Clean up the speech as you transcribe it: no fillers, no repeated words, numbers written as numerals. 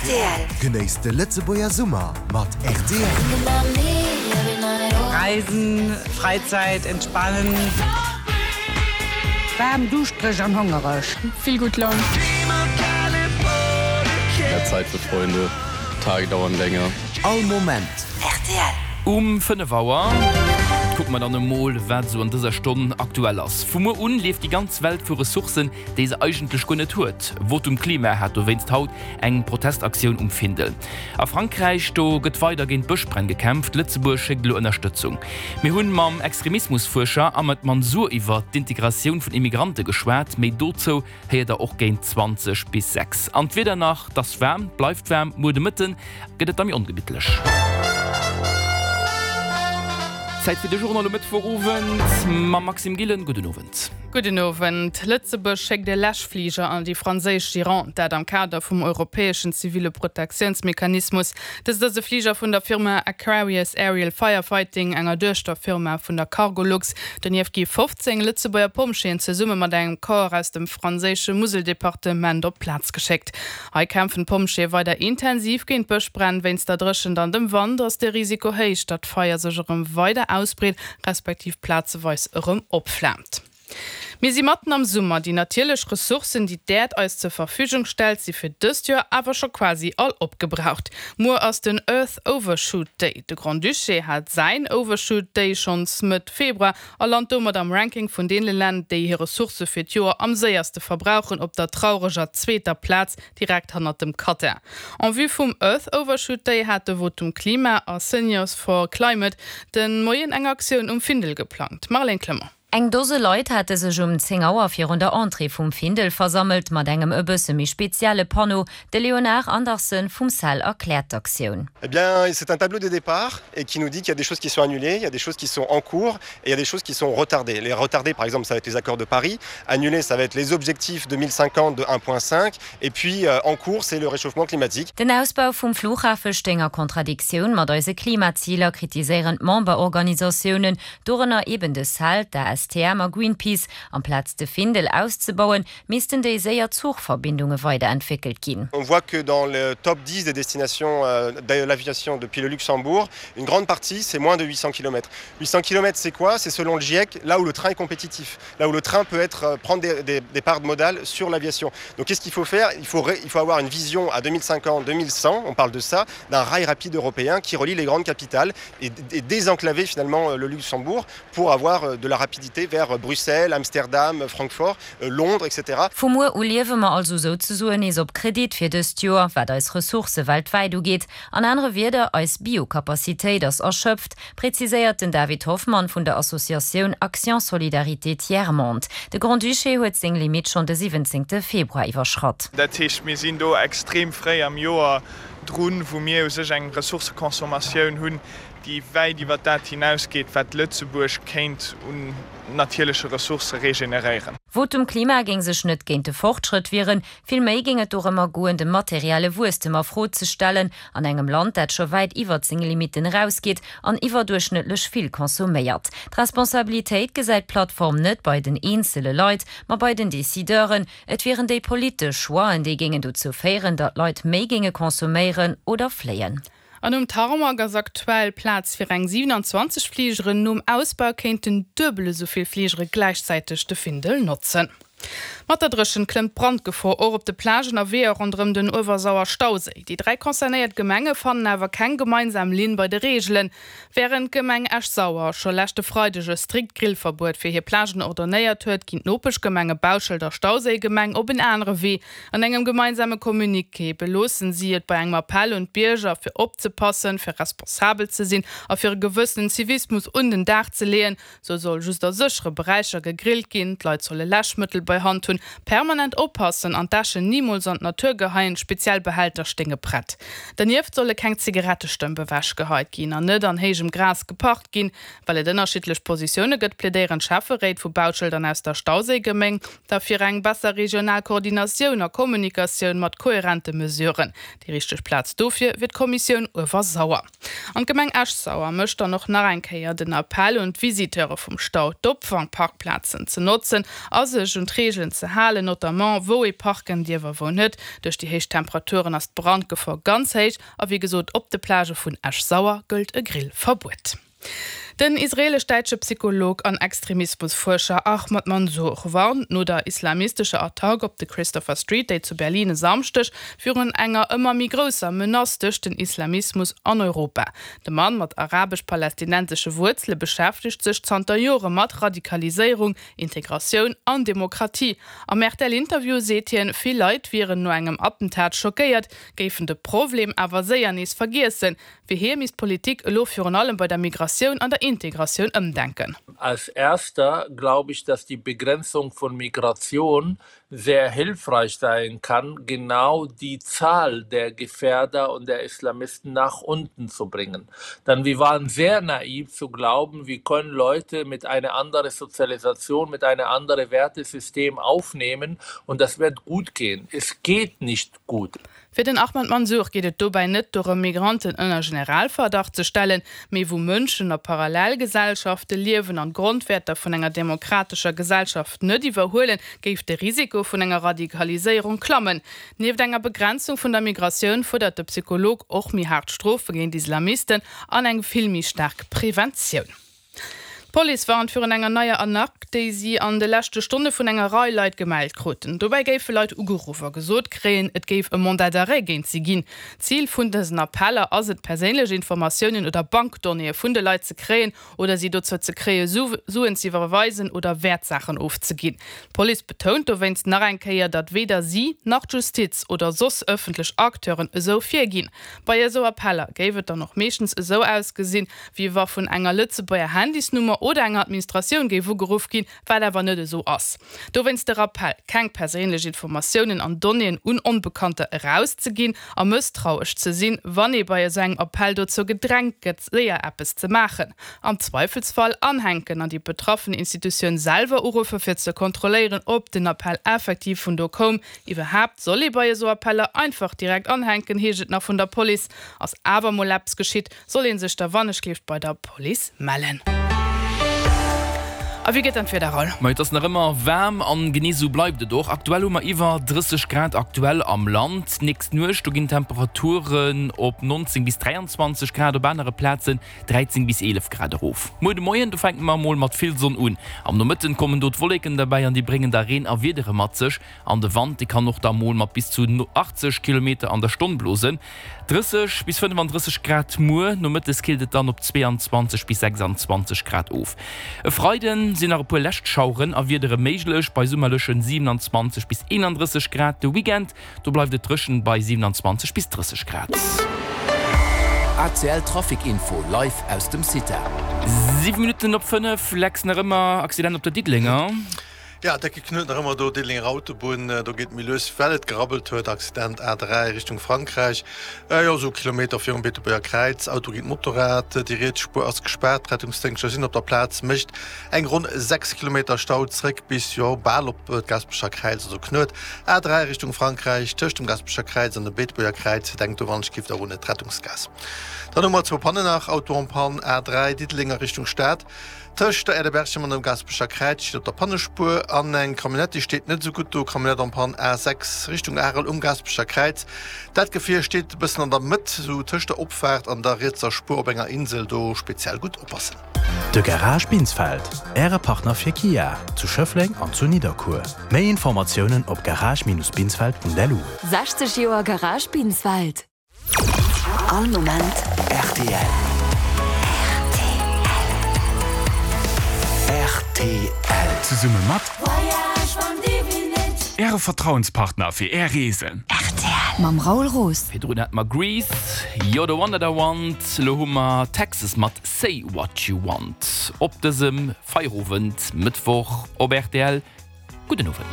Rtl. Genéisst de Lëtzebuerger Summer mat rtl. Reisen, Freizeit, entspannen. Waarm, duuschtereg an hongereg. Vill gutt Laun. Mehr Zeit für Freunde, Tage dauern länger. All Moment. Rtl. Um 5 Auer kucke mer dann emol, wat esou an dëser Stonn aktuell ass. Vu muer un lieft déi ganz Welt vu Ressourcen, déi se eigentlech guer net huet. Votum Klima hat dowéinst haut eng Protestaktioun um Findel. A Frankräich, do gëtt weider géint d'Bëschbränn gekämpft. Lëtzebuerg schéckt elo Ënnerstëtzung. Mir hunn mam Extremismusfuerscher Ahmed Mansour iwwer d'Integratioun vun Immigrante geschwat. Méi dozou héiert der och géint 20 bis 6. An d'Wieder nach, 't ass waarm, 't bleift waarm, muer de Mëtte gëtt et da méi ongemittlech. Zäit fir de Journal um Mëttwochowend mam Maxime Gillen. Gudden Owend. Gudden Owend. Lëtzebuerg schéckt e Läschfliger an déi franséisch Gironde, dat am Kader vum europäeschen ziville Protektiounsmechanismus. Dëst ass e Fliger vun der Firma Aquarius Aerial Firefighting, enger Duechterfirma vun der Cargolux. Donieft gi 15 Lëtzebuerger Pompjeeën zesumme mat engem Corps aus dem franséische Museldepartement op d'Plaz geschéckt. Hei kämpfen d'Pompjeeë weider intensiv géint d'Bëschbränn. Wéinst der Dréchent an dem Wand ass de Risiko héich, datt d'Feier sech erëm weider ausbreet, respektiv plazeweis erëm opflaamt. Mir si matten am Summer. Déi natierlech Ressourcen, déi d'Äerd eis zur Verfügung stellt, si fir dëst Joer awer scho quasi all opgebraucht. Muer ass den Earth Overshoot Day. De Grand-Duché hat säin Overshoot Day schonns Mëtt Februar a lant domat am Ranking vun deene Länn, déi hir Ressourcë fir d'Joer am séierste verbrauchen, op der traureger zweeter Plaz, direkt hannert dem Katar. En vue vum Earth Overshoot Day hat de Votum Klima a Seniors for Climate de Moien eng Aktioun um Findel geplangt. Marlène Clement. Eng Dose Leit hate sech um 10 Auer virun der Entrée vum Findel versammelt, mat engem e bësse méi spezielle Panneau. De Léonard Andersen vum CEL erkläert d'Aktioun. Eh bien, c'est un tableau de départ et qui nous dit qu'il y a des choses qui sont annulées, il y a des choses qui sont en cours et il y a des choses qui sont retardées. Les retardées, par exemple, ça va être les accords de Paris. Annulées, ça va être les objectifs 2050 de 1,5 et puis euh, en cours, c'est le réchauffement climatique. Den Ausbau vum Flughafe stéing a Kontradiktioun mat eise Klimaziler, kritiséieren d'Memberorganisatiounen. Dorënner eben de CEL, d'ASTM a Greenpeace. Amplaz de Findel auszebauen, missten déi séier Zuchverbindunge weiderentwéckelt ginn. On voit que dans le top 10 des destinations de l'aviation depuis le Luxembourg, une grande partie c'est moins de 800 kilomètres. 800 kilomètres c'est quoi? C'est selon le GIEC là où le train est compétitif, là où le train peut être prendre des, des, des parts de modales sur l'aviation. Donc qu'est-ce qu'il faut faire? Il faut, il faut avoir une vision à 2050, 2100, on parle de ça, d'un rail rapide européen qui relie les grandes capitales et, et désenclaver finalement le Luxembourg pour avoir de la rapidité vers Bruxelles, Amsterdam, Francfort, Londres, etc. Vu muer u liewe mer also souzesoen nees op Kredit fir dëst Joer, wat eis Ressourcë weltwäit ugeet. An anere Wierder, eis Biocapacitéit ass erschöpft, präziséiert den David Hoffmann vun der Associatioun Action Solidarité Tiers Monde. De Grand-Duché huet seng Limitt schonn de 17 Februar iwwerschratt. Dat heescht, mir sinn do extrem fréi am Joer drun, wou mir u sech eng Ressourcëconsommatioun hunn, déi wäit iwwer dat hinausgeet, wat Lëtzebuerg kéint un natierleche Ressourcë regeneréieren. Votum Klima géing sech net géint de Fortschrëtt wieren, vill méi géing et dorëmmer goen, de materielle Wuesstem a Fro ze stellen an engem Land, dat scho wäit iwwert seng Limitten erausgeet an iwwerduerchschnëttlech vill consomméiert. D'Responsabilitéit gesäit d'Plattform net bei den eenzele Leit, ma bei den Decideuren. Et wieren déi politesch Choixen, déi géingen dozou féieren, datt d'Leit méi géinge consomméieren oder fléien. An um Tarmac ass aktuell Plaz fir eng 27 Fligeren. Nom Ausbau kéinten duebel esou vill Fligere gläichzäiteg de Findel notzen. Mat der Dréchent klëmmt d'Brandgefor och op de Plagen a Weeër ronderëm den Uewersauer-Stauséi. Déi 3 concernéiert Gemenge fannen awer keng gemeinsam Linn bei de Reegelen. Wärend d'Gemeng Esch-Sauer scho leschte Freideg e strikt Grillverbuet fir hir Plagen ordonnéiert huet, ginn d'Nopeschgemenge Bauschelt a Stauséigemeng op en anere Wee. An engem gemeinsame Communiqué beloossen si et bei engem Appell un d'Bierger, fir opzepassen, fir responsabel ze sinn a fir e gewëssenen Zivismus un den Dag ze leeën. Sou soll just a séchere Beräicher gegrillt ginn, d'Leit solle Läschmëttel bei Hand hunn, permanent oppassen an d'Äschen nimools an d'Natur geheien, speziell Behälter stéinge prett. Dernieft solle keng Zigarettestëmp ewech geheit ginn an net an héijem Gras geparkt ginn. Well et ënnerschiddlech Positioune gëtt, plädéieren d'Schäfferéit vu Bautschelt an aus der Stauséigeméng da fir eng besser regional Koordinatioun a Kommunikatioun mat koherente Mesuren. Déi richteg Plaz dofir wier d'Kommissioun Uewersauer. An d'Gemeng Esch-Sauer mécht dann och nach eng Kéier den Appell un d'Visiteure vum Stau, d'Opfangparkplazen ze notzen a sech un d'Reegelen. d'Reegelen ze halen, notamment wou ee parken dierf a wou net. Duerch déi héich Temperaturen ass d'Brandgefor ganz héich a wéi gesot op de Plagë vun Esch-Sauer gëllt e Grillverbuet. Den israelesch-däitsche Psycholog an Extremismusfuerscher Ahmad Mansour warnt no der islamistescher Attack op de Christopher Street Day zu Berlin e Samschdeg virun enger ëmmer méi grousser Menace duerch den Islamismus an Europa. De Mann mat arabesch-palästinensesche Wuerzele beschäftegt sech zanter Jore mat Radikaliséierung, Integratioun an Demokratie. Am RTL-Interview seet hien, vill Leit wieren no engem Attentat schockéiert, géifen de Problem awer séier nees vergiessen. Fir hie misst d'Politik elo virun allem bei der Migratioun an der Integratioun ëmdenken. Als erster glaube ich, dass die Begrenzung von Migration sehr hilfreich sein kann, genau die Zahl der Gefährder und der Islamisten nach unten zu bringen. Denn wir waren sehr naiv zu glauben, wir können Leute mit einer anderen Sozialisation, mit einem anderen Wertesystem aufnehmen und das wird gut gehen. Es geht nicht gut. Fir den Ahmad Mansour geet et dobäi net dorëm, Migranten ënner Generalverdacht ze stellen, mee wou Mënschen a Parallelgesellschafte liewen an d'Grondwäerter vun enger demokratescher Gesellschaft net iwwerhuelen, géif de Risiko vun enger Radikaliséierung klammen. Nieft enger Begrenzung vun der Migratioun fuerdert de Psycholog och méi haart Strofe géint Islamisten an eng vill méi staark Preventioun. D'Police warnt virun enger neier Arnaque, déi si an de leschte Stonne vun enger Rei Leit gemellt kruten. Dobäi géife Leit ugeruff a gesot kréien, et géif e Mandat d'arrêt géint si ginn. Zil vun dësen Appeller ass et, perséinlech Informatiounen oder Bankdonnéeë vun de Leit ze kréien oder si dozou ze kréie Suen ze iwwerweisen oder Wäertsaachen ofzeginn. D'Police betount dowéinst nach eng Kéier, datt weder si nach d'Justiz oder soss ëffentlech Acteuren esou virginn. Bei esou Appeller géif et dann och meeschtens esou ausgesinn, wéi wa vun enger Lëtzebuerger Handysnummer oder enger Administratioun géif ugeruff ginn, wat awer net esou ass. Dowéinst de Rappell, keng perséinlech Informatiounen an Donnéeën un Onbekannter erauszeginn a mësstrauesch ze sinn, wann ee bei esou engem Appell dozou gedrängt gëtt, séier eppes ze maachen. Am Zweifelsfall anhänken an déi betraffen Institutioun selwer uruffe fir ze kontrolléieren, ob den Appell effektiv vun do koum. Iwwerhaapt soll ee bei esou Appeller einfach direkt anhänken, heescht et nach vun der Police. Ass awer mol eppes geschitt, Soll een sech da wannechgelift bei der Police mellen. A wéi gëtt dann d'Wieder, Raoul? Ma et ass nach ëmmer waarm an genee sou bleift et och. Aktuell hu mer iwwer 30 Grad aktuell am Land. D'nächst Nuecht do ginn d'Temperaturen op 19 bis 23 Grad, op anere Plazen 13 bis 11 Grad erof. Muer de Moien do fänke mer emol mat vill Sonn un. Am Nomëtten kommen do d'Wolleken derbäi an déi bréngen da Reen a Wiedere mat sech. An de Wand, dee kann och da mol mat bis zu 80 Kilometer an der Stonn blosen. 30 bis 35 Grad muer, nomëttes killt et dann op 22 bis 26 Grad of. E Freide sinn nach e puer lescht Schaueren a Wiedere méiglech, bei summerlechen 27 bis 31 Grad. De Weekend, do bleift et dréchen bei 27 bis 30 Grad. ACL Trafic Info live aus dem CITA. 7 Minutten op 5, Lex, nach ëmmer Accident op der Diddelenger. Ja, décke Knuet nach ëmmer do, Diddelenger Autobunn, do geet et méi lues, well et gerabbelt huet. Accident A3 Richtung Frankräich, jo esou Kilometer virum Beetebuerger Kräiz, Auto géint Motorrad, déi riets Spuer ass gespaart, d'Rettungsdéngschter sinn op der Plaz, mécht eng ronn 6 Kilometer Stau zréck bis, jo bal op d'Gaasperecher Kräiz, also Knuet A3 Richtung Frankräich tëscht dem Gaasperecher Kräiz an dem Beetebuerger Kräiz. Denkt do wann-ech-giff der un d'Rettungsgaass. Dann hu mer zwou Pannen nach, Auto en panne A3 Diddeleng a Richtung Stad, Tëscht der Aire de Berchem an dem Gaasperecher Kräiz steet op der Pannespuer an eng Camionnette, déi steet net esou gutt do. Camionnette en panne A6 Richtung Arel um Gaasperecher Kräiz. Dat Gefier steet e bëssen an der Mëtt, esou tëscht der Opfaart an der rietser Spuer op enger Insel. Do speziell gutt oppassen. De Garage Binsfeld, Äre Partner fir Kia, zu Schëffleng an zu Nidderkuer. Méi Informatiounen op garage-binsfeld.lu. 60 Joer Garage Binsfeld. All Moment rtl. Rtl. Zesumme mat Äre Vertrauenspartner fir Är Reesen. Rtl. Mam Raoul Roos. Virdrun hate mer Grease, You're the One That I Want, elo hu mer Texas mat Say What You Want op dësem Feierowend Mëttwoch op rtl. Gudden Owend.